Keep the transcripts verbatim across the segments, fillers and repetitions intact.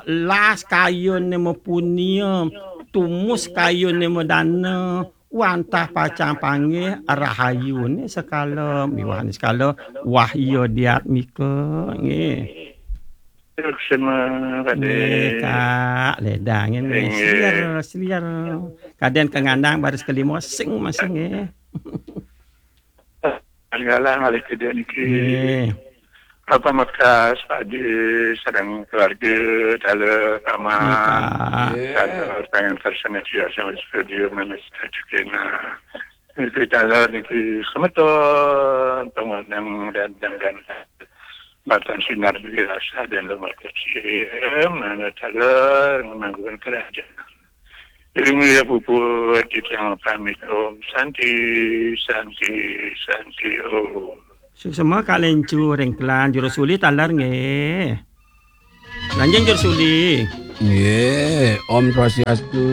las kayune mapunia, tumus kayune madana, wantah pacang panggih rahayune sekala, miwahne sekala wahya diatmika, nggih. Suksma, Pak Nggih, Dé. Kak, ledang nggih, Nggih. Seliar, seliar. Kadén kangandang baris kelima, sing masing, nggih. Galah malih kedua niki. Nggih. Apa mekas Pak Dé sareng keluarga, dalam kamar. Nggih, Kak. Nggih. Dalam tangan tersana dia sama studio mana kita juga. Niki dalam niki semeton, pengundang dan, dan, dan. Batan sinar bagi rasa dan lemah kecil, mana dalam menganggukan kerajaan. Ilmu ya puput, kita pamit, Om Santi, Santi, Santi, Om. Suksma Kak Lencu ring Klan, Juru Suli taler nggih. Lanjeng Juru Suli. Nggih, Om Swastiastu.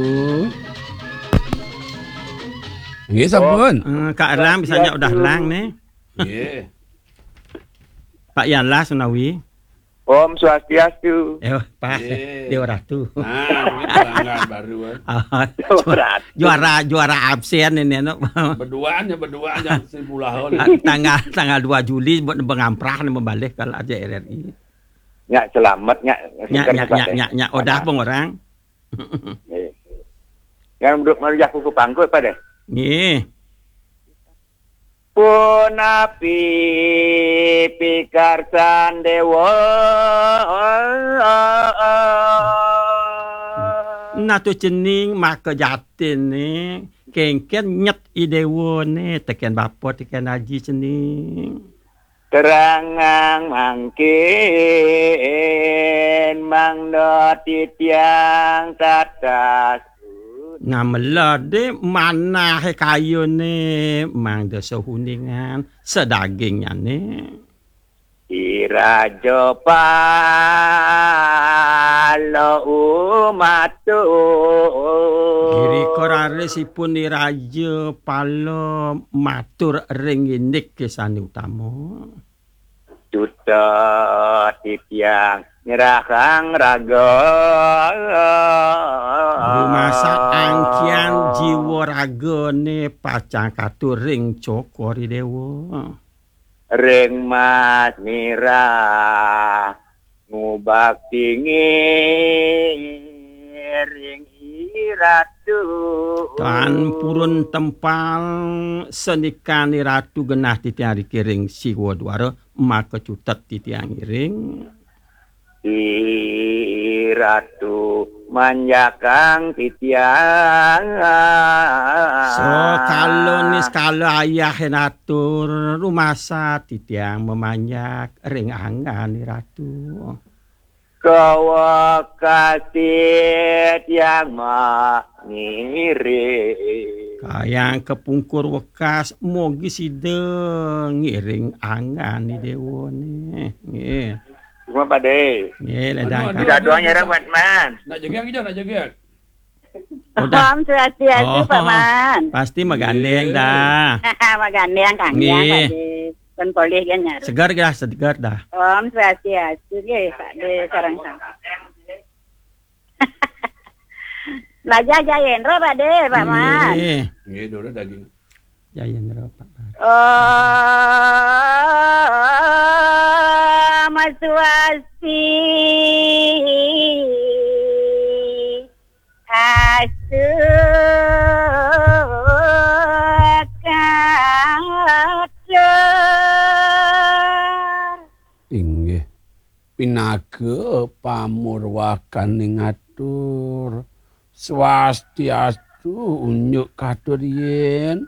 Nggih, sampun. Eh, Kak Erlang bisa nyak udah Erlang nih. Nggih. Pak Yalah Sunawi. Om Swastiastu. Eh, pas. Nggih. Dewa Ratu. Nah, ini pelanggan baru, kan. Ah, Dewa Ratu. Juara, juara absen ini, anu. Berduaan ya, berduaan yang si Pulahon. Ah, tanggal, tanggal dua Juli buat pengamprah nih, membalik kalau aja R R I. Nyak selamat, nyak Nyak, seger nyak, nyak, nyak, nyak. Odah pengorang. Nggih. Yang duduk merujak kuku pangkut pada. Nggih. Punapi pikarsan Dewa. Nah, tu cening maka jatine kengken nyet i Dewa ne, teken bapa, teken aji cening. Terangang mangkin mangda titiang tatas. Nah, mela de manahe kayune mangda sehuningan sedagingnyane. I Raja Pala umatu. Girika rarisipun I Raja Pala matur ring indik sane utama. Duta titiang nyerahang raga. Rumasa angkian jiwa ragane pacang katur ring Cokor I Dewa. Ring Mas Mirah ngubakti ngiring I Ratu. Tan purun tempal senikan I Ratu genah titiang riki ring Siwa Duara, maka cutet titiang ngiring. I Ratu manjakang titiang. Sakala niskala ayah natur rumasa titiang mamanjak ring anggan I Ratu. Kawekasi tiang mangiring. Kayang kapungkur wekas mogi sida ngiring anggan I Dewa ne. Nggih. Cuma Pak De. Nggih, ledang. Aduh, aduh, Kak. Kita doang aduh, ya, aduh. Buat Man. Nak jegeng aja, nak jegeng. Udah. Om Swastiastu, oh, Pak Man. Pasti magandeng dah. Magandeng, Kang. Nggih. Yang tadi. Pun polih kan nyaru. Segar dah, segar dah. Om Swastiastu, nggih, Pak De, sareng sami. Lajah Jayendra, Pak De, Pak Man. Nggih. Nggih, dulu daging. Jayendra, Pak Man. Om Swasti. Astu katur. Inggih, pinaga pamurwakaning atur. Swastiastu, unjuk katur yen